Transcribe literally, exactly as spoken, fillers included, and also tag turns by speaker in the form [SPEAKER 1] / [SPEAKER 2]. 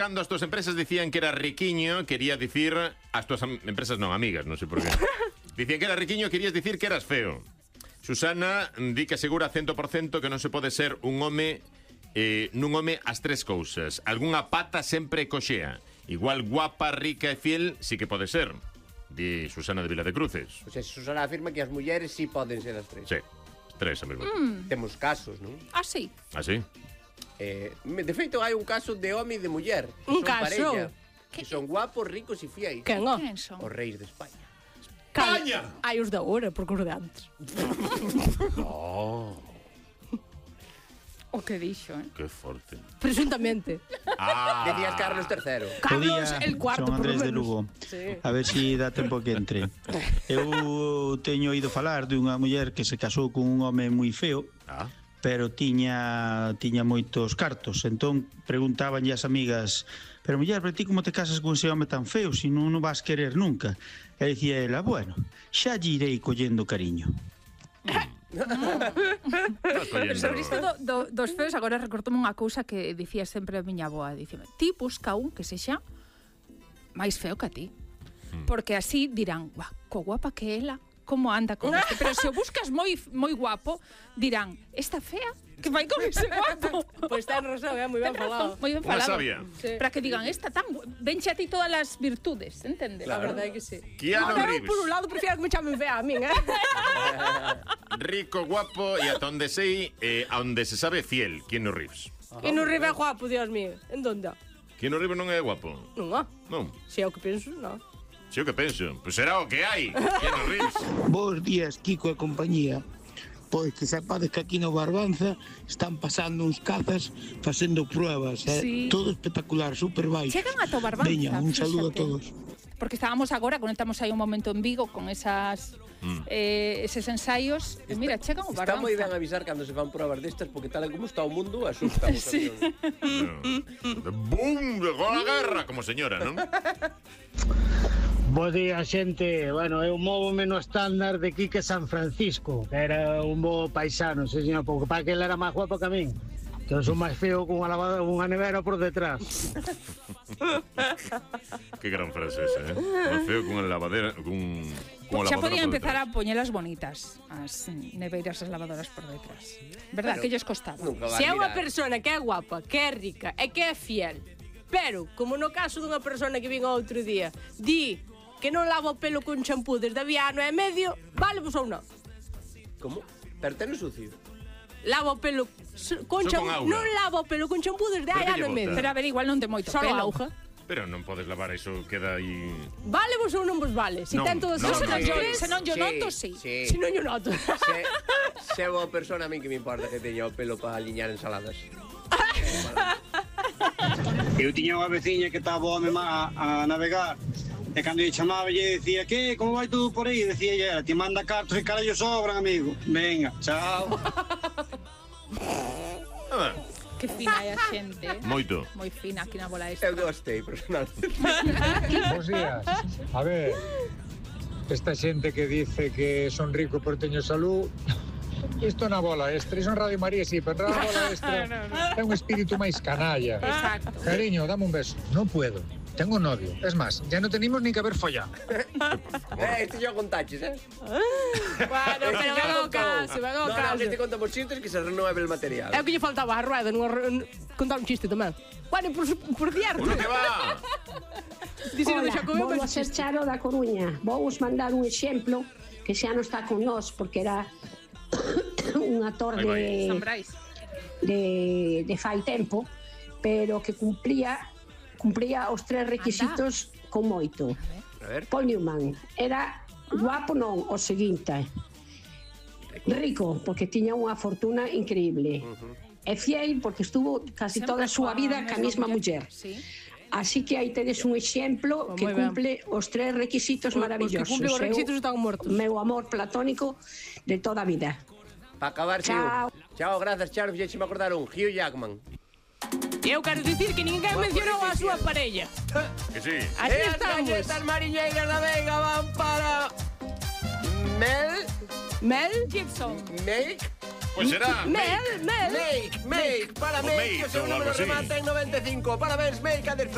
[SPEAKER 1] Cando as túas empresas dicían que era riquiño, quería dicir... As túas am- empresas non, amigas, non sei por qué. Dicían que era riquiño, querías dicir que eras feo. Susana di que asegura cento por cento que non se pode ser un home eh, nun home as tres cousas. Algúnha pata sempre coxea. Igual guapa, rica e fiel, sí que pode ser. Di Susana de Vila de Cruces.
[SPEAKER 2] O sea, Susana afirma que as mulleres sí poden ser as tres.
[SPEAKER 1] Sí, tres a mesmo.
[SPEAKER 3] Mm.
[SPEAKER 2] Temos casos, non?
[SPEAKER 3] Ah, sí.
[SPEAKER 1] Ah, sí?
[SPEAKER 2] Eh, de feito, hai un caso de home e de muller. Que
[SPEAKER 4] Un
[SPEAKER 2] son
[SPEAKER 4] caso?
[SPEAKER 2] parella, que son guapos, ricos e fiéis.
[SPEAKER 4] Quen, ó?
[SPEAKER 3] Quen son?
[SPEAKER 2] Os reis de España.
[SPEAKER 4] España! Hai os da hora, porque os de antes.
[SPEAKER 1] Oh,
[SPEAKER 3] O que dixo, eh?
[SPEAKER 1] que forte.
[SPEAKER 4] Presuntamente.
[SPEAKER 1] Ah.
[SPEAKER 2] Decías Carlos terceiro.
[SPEAKER 4] Carlos,
[SPEAKER 5] Podía,
[SPEAKER 4] el cuarto,
[SPEAKER 5] son
[SPEAKER 4] por lo
[SPEAKER 5] Andrés de
[SPEAKER 4] menos.
[SPEAKER 5] Lugo.
[SPEAKER 4] Sí.
[SPEAKER 5] A ver si dá tempo que entre. Eu teño oído falar dunha muller que se casou con un home moi feo,
[SPEAKER 1] Ah.
[SPEAKER 5] pero tiña tiña moitos cartos. Entón preguntabanlle as amigas: "Pero muller, pero ti como te casas con ese home tan feo, se non o vas querer nunca?" E dicía ela: "Bueno, xa lle irei collendo cariño."
[SPEAKER 3] Pero sobre isto do, do, dos feos, agora recortome unha cousa que dicía sempre a miña avoa. Dicime, ti busca un que sexa máis feo que a ti. Porque así dirán, guau, co guapa que ela, como anda con este. Pero se o buscas moi moi guapo, dirán, esta fea que vai con ese guapo.
[SPEAKER 4] Pois ten razón, é moi ben
[SPEAKER 3] Ten
[SPEAKER 4] falado.
[SPEAKER 3] razón, moi ben
[SPEAKER 1] Unha
[SPEAKER 3] falado.
[SPEAKER 1] sabia.
[SPEAKER 4] Sí.
[SPEAKER 3] Para que digan, esta tan gu- venche a ti todas as virtudes, entendes?
[SPEAKER 4] A verdade é que sí.
[SPEAKER 1] Keanu
[SPEAKER 4] Ahora, eu,
[SPEAKER 1] Reeves.
[SPEAKER 4] por un lado, prefiero que me chamen fea a min, eh?
[SPEAKER 1] Rico, guapo e ata onde sei, eh, a onde se sabe fiel. Keanu Reeves.
[SPEAKER 4] E non ribe guapo, Dios mío. En donde?
[SPEAKER 1] Keanu Reeves non é guapo.
[SPEAKER 4] Non, ó.
[SPEAKER 1] Non,
[SPEAKER 4] Se é o que penso, non.
[SPEAKER 1] sei o que penso. Pois será o que hai. Keanu Reeves.
[SPEAKER 6] Bos días, Kiko e compañía. Pois que sepades que aquí no Barbanza están pasando uns cazas facendo pruebas, eh?
[SPEAKER 3] Sí.
[SPEAKER 6] Todo espectacular, super baixo.
[SPEAKER 3] Chegan ata o Barbanza,
[SPEAKER 6] Veña, un saludo a
[SPEAKER 3] fíxate.
[SPEAKER 6] todos.
[SPEAKER 3] Porque estábamos agora, conectamos aí un momento en Vigo con esas
[SPEAKER 1] Mm.
[SPEAKER 3] eh, eses ensaios. E mira, chegan o
[SPEAKER 2] Está
[SPEAKER 3] Barbanza.
[SPEAKER 2] moi ben avisar cando se fan provas destas, porque tal e como está o mundo, asusta os
[SPEAKER 3] Sí.
[SPEAKER 2] camiones.
[SPEAKER 1] Boom, llegó a guerra, como señora, non?
[SPEAKER 7] Bo día, xente. Bueno, eu móvome no estándar de Quique San Francisco, que era un bo paisano, se señor, porque para que ele era máis guapo que a min. Que eu son máis feo con unha lavadora, unha nevera por detrás.
[SPEAKER 1] Que gran frase esa, eh? Más feo con a lavadera, con, con a
[SPEAKER 3] Xa
[SPEAKER 1] lavadora
[SPEAKER 3] podían
[SPEAKER 1] por
[SPEAKER 3] empezar
[SPEAKER 1] detrás.
[SPEAKER 3] a poñelas bonitas, as neveiras e as lavadoras por detrás. Verdad,
[SPEAKER 2] Bueno,
[SPEAKER 3] que lles costaba.
[SPEAKER 2] Nunca vas
[SPEAKER 4] Se é unha
[SPEAKER 2] mirar.
[SPEAKER 4] persona que é guapa, que é rica e que é fiel, pero, como no caso dunha persona que vin outro día, di que non lava o pelo con champú desde había ano e medio, vale vos ou non?
[SPEAKER 2] Como? Pero ten sucio.
[SPEAKER 4] Lava o pelo s- con
[SPEAKER 1] Só
[SPEAKER 4] champú,
[SPEAKER 1] con auga.
[SPEAKER 4] non lava o pelo con champú desde
[SPEAKER 1] Pero
[SPEAKER 4] hai
[SPEAKER 1] que
[SPEAKER 4] ano e
[SPEAKER 1] lle
[SPEAKER 4] medio.
[SPEAKER 1] bota?
[SPEAKER 3] Pero a ver, igual non ten moito
[SPEAKER 4] Solo
[SPEAKER 3] pelo.
[SPEAKER 4] auga.
[SPEAKER 1] Pero non podes lavar eso, queda aí...
[SPEAKER 4] Vale vos ou non vos vale? Se
[SPEAKER 1] Non,
[SPEAKER 4] ten todos
[SPEAKER 1] non,
[SPEAKER 4] os
[SPEAKER 3] Se non,
[SPEAKER 1] non,
[SPEAKER 3] yo,
[SPEAKER 1] non.
[SPEAKER 3] se non yo
[SPEAKER 2] Sí,
[SPEAKER 3] noto, sí.
[SPEAKER 2] sí.
[SPEAKER 4] Se non yo noto.
[SPEAKER 2] Se, se é boa persona, a min que me importa que teña o pelo para aliñar ensaladas.
[SPEAKER 7] Eu tiña unha veciña que estaba o home má a navegar, e cando lle chamaba lle decía: "Que, como vai todo por aí?" Decía ella: "Ti manda cartos e carallo sobran, amigo. Venga, chao."
[SPEAKER 1] Nada,
[SPEAKER 3] Que fina é a xente. eh?
[SPEAKER 1] moito.
[SPEAKER 3] Moi fina aquí na bola esta.
[SPEAKER 2] Eu gostei, personalmente.
[SPEAKER 8] Bos días. A ver, esta xente que dice que son rico pero teño salud, isto na bola extra, iso en Radio María sí, pero na bola extra é un espírito máis canalla.
[SPEAKER 3] Exacto.
[SPEAKER 8] Cariño, dame un beso. Non puedo. Tengo novio. Es más, ya no tenemos ni que haber follado.
[SPEAKER 2] Eh, este yo con taches, eh?
[SPEAKER 4] Bueno, pero
[SPEAKER 2] Este
[SPEAKER 4] ven
[SPEAKER 2] ya
[SPEAKER 4] ao
[SPEAKER 2] contou.
[SPEAKER 4] caso, ven ao
[SPEAKER 2] No, no,
[SPEAKER 4] caso.
[SPEAKER 2] que este contamos chistes que se renueve el material.
[SPEAKER 4] É o que lle faltaba a rueda, non contar un chiste tamén. Bueno, por, por cierto,
[SPEAKER 1] Uno que va!
[SPEAKER 4] dicir do
[SPEAKER 9] Hola,
[SPEAKER 4] Xacobeo,
[SPEAKER 9] vou a
[SPEAKER 4] mas
[SPEAKER 9] ser Charo da Coruña. Vou vos mandar un exemplo que xa non está con nós porque era un actor
[SPEAKER 1] Aí vai.
[SPEAKER 3] San
[SPEAKER 9] de,
[SPEAKER 3] Brais.
[SPEAKER 9] de, de fai tempo, pero que cumplía cumplía os tres requisitos con moito.
[SPEAKER 2] A ver.
[SPEAKER 9] Paul Newman era guapo non, o seguinte. Rico, porque tiña unha fortuna increíble. E fiel, porque estuvo casi
[SPEAKER 3] Sempre
[SPEAKER 9] toda a súa
[SPEAKER 3] coa
[SPEAKER 9] vida ca mesma muller.
[SPEAKER 3] Sí.
[SPEAKER 9] Así que aí tedes un exemplo
[SPEAKER 4] Pues
[SPEAKER 9] que
[SPEAKER 4] moi ben.
[SPEAKER 9] cumple os tres requisitos
[SPEAKER 4] Os- os que
[SPEAKER 9] maravillosos.
[SPEAKER 4] cumplen os
[SPEAKER 9] Eu-
[SPEAKER 4] requisitos están muertos.
[SPEAKER 9] Meu amor platónico de toda a vida.
[SPEAKER 2] Para acabar,
[SPEAKER 9] Chao.
[SPEAKER 2] Hugh. Chao, gracias, Charo. Fixécheme acordar un Hugh Jackman.
[SPEAKER 4] eu quero dicir que ninguén mencionou a súa parella.
[SPEAKER 1] Que sí.
[SPEAKER 4] Así
[SPEAKER 2] E as
[SPEAKER 4] estamos.
[SPEAKER 2] galletas mariñeiras da Vega van para... Mel...
[SPEAKER 4] Mel?
[SPEAKER 3] Gibson.
[SPEAKER 2] Make...
[SPEAKER 1] Pois será.
[SPEAKER 4] Mel, Mel.
[SPEAKER 2] Make, make, para
[SPEAKER 1] O
[SPEAKER 2] Make,
[SPEAKER 1] Make,
[SPEAKER 2] que o seu
[SPEAKER 1] ou algo
[SPEAKER 2] número
[SPEAKER 1] así.
[SPEAKER 2] remata en noventa e cinco. Parabéns, Make, a